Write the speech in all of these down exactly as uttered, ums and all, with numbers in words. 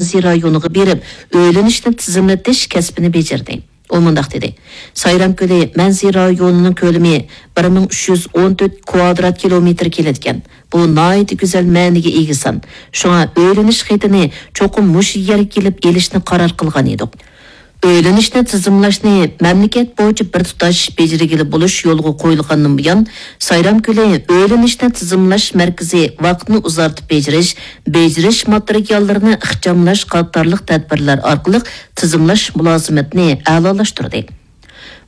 مەنزىرە رايونىغا بېرىپ، ئۆيلىنىشنى تىزىملىتىش كەسپىنى بېجىردى. ئۇ مۇنداق دېدى: سايرام كۆلى مەنزىرە رايونىنىڭ كۆلىمى بىر مىڭ ئۈچ يۈز ئون تۆت كۋادرات كىلومېتىر كېلىدىكەن. بۇ ناھايىتى گۈزەل مەنىگە ئىگە سان. شۇڭا ئۆيلىنىش خېتىنى چوقۇم مۇشۇ يەرگە كېلىپ ئېلىشنى قارار قىلغان ئىدۇق. ئۆيلىنىشنى تىزىملاشنى مەملىكەت بويىچە بىر تۇتاش بېجىرگىلى بولۇش يولغا قويۇلغاندىن بۇيان، سايرام كۆلى ئۆيلىنىشنى تىزىملاش مەركىزى ۋاقىتنى ئۇزارتىپ بېجىرىش، بېجىرىش ماتېرىياللىرىنى ئىخچاملاش قاتارلىق تەدبىرلەر ئارقىلىق تىزىملاش مۇلازىمىتىنى ئەلالاشتۇردى.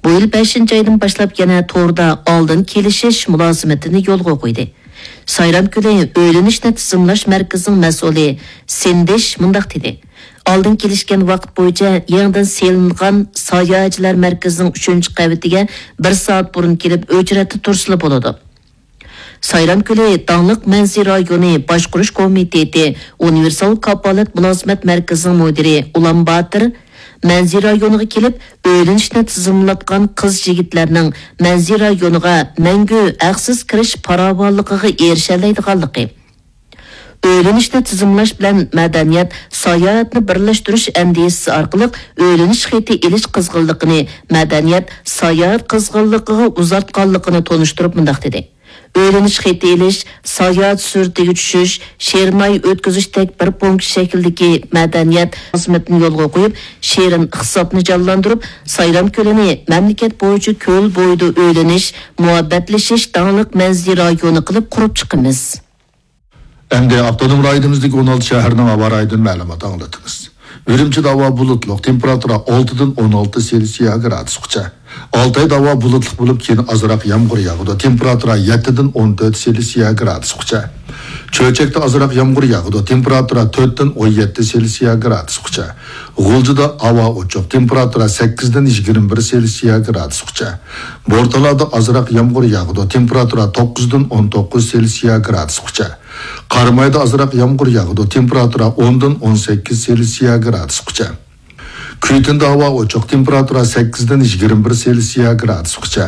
بۇ يىل بەشىنچى ئايدىن باشلاپ يەنە توردا ئالدىن كېلىشىش مۇلازىمىتىنى يولغا قويدى. سايرام كۆلى ئۆيلىنىشنى تىزىملاش مەركىزىنىڭ مەسئۇلى سىندىش مۇنداق دېدى: ئالدىن كېلىشكەن ۋاقىت بويىچە يېڭىدىن سېلىنغان ساياھەتچىلەر مەركىزىنىڭ ئۈچىنچى قەۋىتىگە بىر سائەت بۇرۇن كېلىپ ئۆچرەتتە تۇرسىلا بولىدۇ. سايرام كۆلى داڭلىق مەنزىرە رايونى باشقۇرۇش كومىتېتى ئۇنىۋېرسال كاپالەت مۇلازىمەت مەركىزىنىڭ مۇدىرى ئۇلان باتىر مەنزىرە رايونىغا كېلىپ، ئۆيلىنىشنى تىزىملاتقان قىز-يىگىتلەرنىڭ مەنزىرە رايونىغا مەڭگۈ ھەقسىز كىرىش پاراۋانلىقىغا ئېرىشەلەيدىغانلىقى، ئۆيلىنىشنى تىزىملاش بىلەن مەدەنىيەت، ساياھەتنى بىرلەشتۈرۈش ئەندىزىسى ئارقىلىق ئۆيلىنىش خېتى ئېلىش قىزغىنلىقىنى، مەدەنىيەت، ساياھەت قىزغىنلىقىغا ئۇزارتقانلىقىنى تونۇشتۇرۇپ مۇنداق دېدى: ئۆيلىنىش خېتى ئېلىش، ساياھەت سۈرىتىگە چۈشۈش، شېرىن ئاي ئۆتكۈزۈشتەك بىر پونكىت شەكلىدىكى مەدەنىيەت خىزمىتىنى يولغا قويۇپ، شېرىن ئىقتىسادنى جانلاندۇرۇپ، سايرام كۆلىنى مەملىكەت بويىچە كۆل بويىدا ئۆيلىنىش، مۇھەببەتلىشىش داڭلىق مەنزىرە رايونى قىلىپ قۇرۇپ چىقىمىز. ئەمدى ئاپتونوم رايونىمىزدىكى ئون ئالتە شەھەرنىڭ ھاۋا رايىدا مەلۇمات ئاڭلىتىمىز. ئۈرۈمچىدە ھاۋا بۇلۇتلۇق، تېمپېراتۇرا ئالتىدىن ئون ئالتە سېلسىيە گرادۇسقىچە. ئالتايدا ھاۋا بۇلۇتلۇق بولۇپ، كېيىن ئازراق يامغۇر ياغىدۇ، تېمپېراتۇرا يەتتىدىن ئون تۆت سېلسىيە گرادۇسقىچە. چۆچەكتە ئازراق يامغۇر ياغىدۇ، تېمپېراتۇرا تۆتتىن ئون يەتتە سېلسىيە گرادۇسقىچە. غۇلجىدا ھاۋا ئوچۇق، تېمپېراتۇرا سەككىزدىن يىگىرمە بىر سېلسىيە گرادۇسقىچە. بورتالادا ئازراق يامغۇر ياغىدۇ، تېمپېراتۇرا توققۇزدىن ئون توققۇز سېلسىيە گرادۇسقىچە. قارامايدا ئازراق يامغۇر ياغىدۇ، تېمپېراتۇرا ئوندىن ئون سەككىز سېلسىيە گرادۇسقىچە. كۈيتۈندە ھاۋا ئوچۇق، تېمپېراتۇرا سەككىزدىن يىگىرمە بىر سېلسىيە گرادۇسقىچە.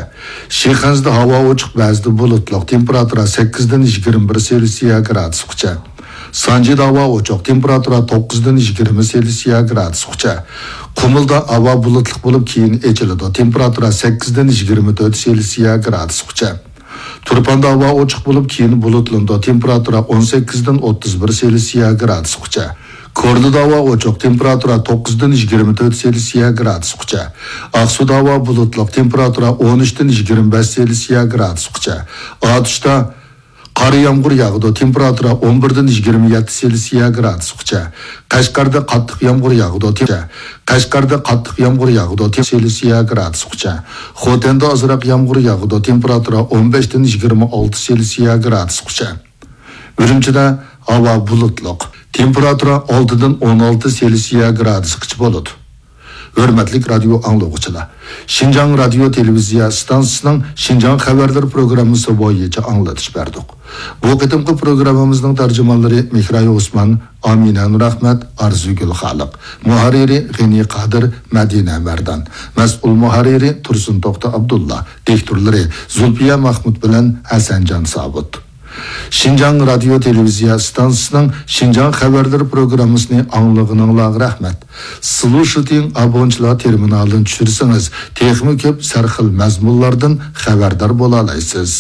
شىخەنزىدە ھاۋا ئوچۇق، بەزىدە بۇلۇتلۇق، تېمپېراتۇرا سەككىزدىن يىگىرمە بىر سېلسىيە گرادۇسقىچە. سانجىدا ھاۋا ئوچۇق، تېمپېراتۇرا توققۇزدىن يىگىرمە سېلسىيە گرادۇسقىچە. قۇمۇلدا ھاۋا بۇلۇتلۇق بولۇپ، كېيىن ئېچىلىدۇ، تېمپېراتۇرا سەككىزدىن يىگىرمە تۆت سېلسىيە گرادۇسقىچە. تۇرپاندا ھاۋا ئوچۇق بولۇپ، كېيىن بۇلۇتلىنىدۇ، تېمپېراتۇرا ئون سەككىزدىن ئوتتۇز بىر سېلسىيە گرادۇسقىچە. كورلىدا ھاۋا ئوچۇق، تېمپېراتۇرا توققۇزدىن يىگىرمە تۆت سېلسىيە گرادۇسقىچە. ئاقسۇدا ھاۋا بۇلۇتلۇق، تېمپېراتۇرا ئون ئۈچتىن يىگىرمە بەش سېلسىيە گرادۇسقىچە. ئاتۇشتا قارا يامغۇر ياغىدۇ، تېمپېراتۇرا ئون بىردىن يىگىرمە يەتتە سېلسىيە گرادۇسقىچە. قەشقەردە قاتتىق يامغۇر ياغىدۇ، تېم-، قەشقەردە قاتتىق يامغۇر ياغىدۇ، تېم-، سېلسىيە گرادۇسقىچە. خوتەندە ئازراق يامغۇر ياغىدۇ، تېمپېراتۇرا ئون بەشتىن يىگىرمە ئالتە سېلسىيە گرادۇسقىچە. ئۈرۈمچىدە ھاۋا بۇلۇتلۇق، تېمپېراتۇرا ئالتىدىن ئون ئالتە سېلسىيە گرادۇسقىچە بولىدۇ. ھۆرمەتلىك رادىيو ئاڭلىغۇچىلار، شىنجاڭ رادىيو تېلېۋىزىيە ئىستانسىسىنىڭ شىنجاڭ خەۋەرلىرى پروگراممىسى بويىچە ئاڭلىتىش بەردۇق. بۇ قېتىمقى پروگراممىمىزنىڭ تەرجىمانلىرى مېھراي ئوسمان، ئامىنە نۇرئەخمەت، ئارزۇگۈل خالىق، مۇھەررىرى غېنى قادىر، مەدىنە مەردان، مەسئۇل مۇھەررىرى تۇرسۇن توختى ئابدۇللا، دىكتورلىرى زۇلپىيە مەخمۇت بىلەن ھەسەنجان سابىت. شىنجاڭ رادىيو تېلېۋىزىيە ئىستانسىسىنىڭ شىنجاڭ خەۋەرلىرى پروگراممىسىنى ئاڭلىغىنىڭلارغا رەھمەت. سلۇشىتىڭ ئابونچىلار تېرمىنالىنى چۈشۈرسىڭىز، تېخىمۇ كۆپ سەرخىل مەزمۇنلاردىن خەۋەردار بولالايسىز.